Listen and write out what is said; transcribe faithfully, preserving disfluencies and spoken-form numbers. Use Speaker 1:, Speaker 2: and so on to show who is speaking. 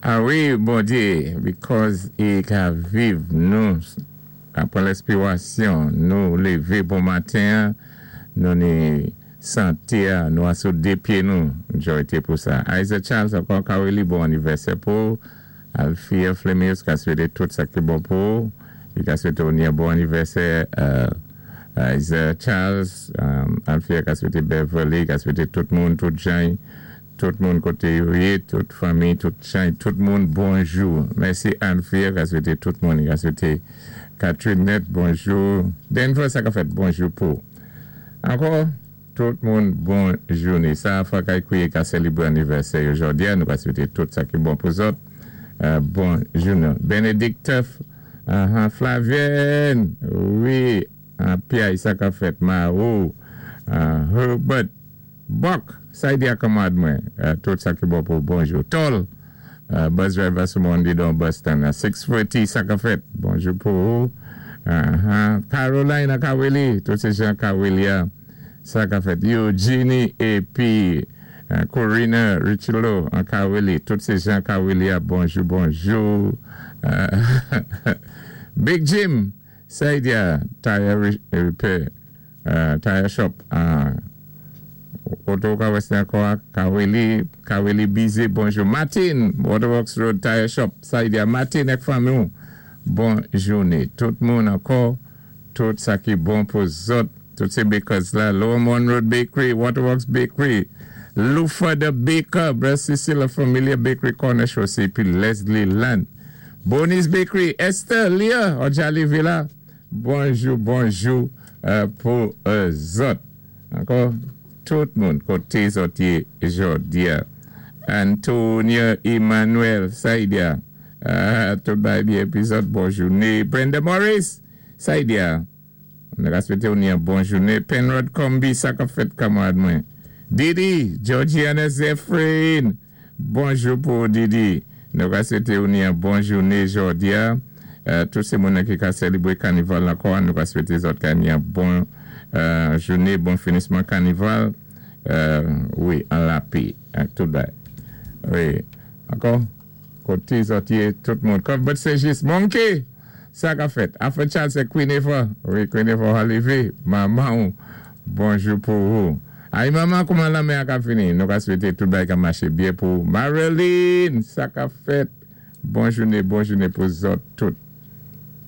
Speaker 1: Ah wi, Bondyé, because i ka viv nou, apwé lèspirasyon, nou lévé bon maten, nou ni santé, nou asou dé pyé nou, jòyté pou sa. Isaac Charles, ankò ka bon anivèsè pou Alfia Flemius, ka swété tout sa ki bon pou, i ka swété ni bon anivèsè euh, Isaac Charles, um, Alfia ka swété Beverly, ka swété tout moun, tout jan, tout moun koté yo yé, tout fanmi, tout jan, tout moun, bonjou. Mèsi Alfia, ka swété tout moun, ka swété Catherine Net, bonjou. Denver, sa ka fèt bonjou pou. Ankò, tout moun, bon jouné. Sa, fwa kay kouwé ka sélébwé anivèsè jòdi, nou ka swété tout sa ki bon pou zòt. Euh, bon jouné. Benedict uh, Flavienne, wi, Pierre sa ka fèt, Marou, uh, Herbert, Buck, sa i di a kanmarad mwen, uh, tout sa ki bon pou bonjou. Tol, uh, bus driver sou Monday don Boston, uh, sis forty sa ka fèt, bonjou pou ou. Uh -huh. Caroline Kaweli, tout sé jan Kaweli sa ka fèt. Eugenie épi uh, Corina Richelo an Kaweli, tout sé jan Kaweli bonjou, bonjou. Uh, Big Jim, sa i di a tire repair, uh, tire shop, uh, Oto ka wè ankò, Kaweli, Kaweli Bize, bonjou. Martin, Waterworks Road Tire Shop, sa i di a Martin ek fanmi ou, bon jouné. Tout moun ankò, tout sa ki bon pou zòt, tout sé bakers la, Lower Mon Road Bakery, Waterworks Bakery, Lufa the Baker, Brother Cecil Familia Bakery Corner Chaussée, pi Leslie Land. Bonnie's Bakery, Esther, Leah, Ojali Villa, bonjou, bonjou euh, pou euh, zòt. Ankò, tout moun koté zòt yé jòdi a. Antonia Emmanuel, sa i di a. Uh, tout bay byen épi zòt, bon jouné. Brenda Morris, sa i di a. Nou ka swété ou ni yon bon jouné. Penrod Combi, sa ka fèt kanmarad mwen. Didi, Georgiana Zephyrin, bonjou pou Didi. Nou ka swété ou ni yon bon jouné jòdi a. Uh, tout sé moun ki ka sélébwé kanival ankò, nou ka swété zòt ka ni yon bon euh, jouné, bon finisman kanival. Euh, wi, an lapè, tout bay. Wi, ankò, koté zòt yé, tout moun. Cuthbert Segis, Monkey, sa ka fèt. Alfred Charles, sé Queen Eva. Wi, Queen Eva Olivier, manman, bonjou pou ou. Ay, manman, kouman lanmè a ka fini? Nou ka swété tout bay ka maché byen pou Marilyn, sa ka fèt. Bon jouné, bon jouné pou zòt tout.